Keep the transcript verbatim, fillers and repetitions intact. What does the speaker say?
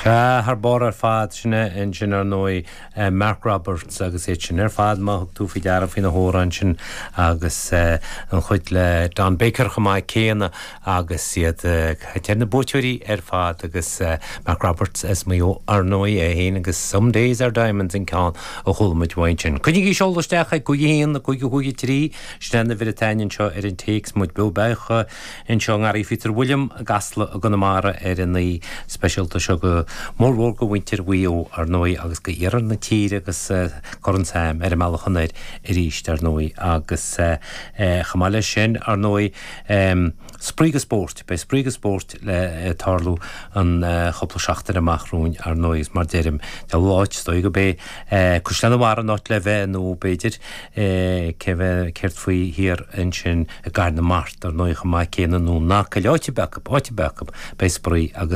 Thar barr ar fad sin ansin ar ndóigh Mark Roberts agus é sin ar fad má thug tú faoi deara faoina hamhrán sin agus an chuid le Don Baker chomh maith céanna agus iad ar na buaiteoirí ar fad agus Mark Roberts as Maigh Eo ar ndóigh é féin agus Some Days Are Diamonds an ceann a chuala muid uaidh sin. Coinnigí ag seoladh isteach ag cúig haon cúig cúig trí sin an uimhir atá anseo ar an téacs muid beo beacha anseo i nGarraí Phíotair William i gCasla i gConamara ar an oíche speisialta seo go mórmhór go mhuintir Mhaigh Eo ar ndóigh agus go iarthar na tíre agus Corn Sam ar an mbealach anoir arís ar ndóigh agus chomh maith leis sin ar ndóigh spraoi agus spórt, beidh spraoi agus spórt le tarlú an chúpla seachtain amach romhainn ar ndóigh is mar deirim de láit dóigh go bé Caisleán an Bharraigh an áit le bheith nó b'fhéidir céard faoi thiar ansin i gCathair na Mart ar ndóigh chomh maith céanna nó nach áit beag áit beag beidh spraoi agus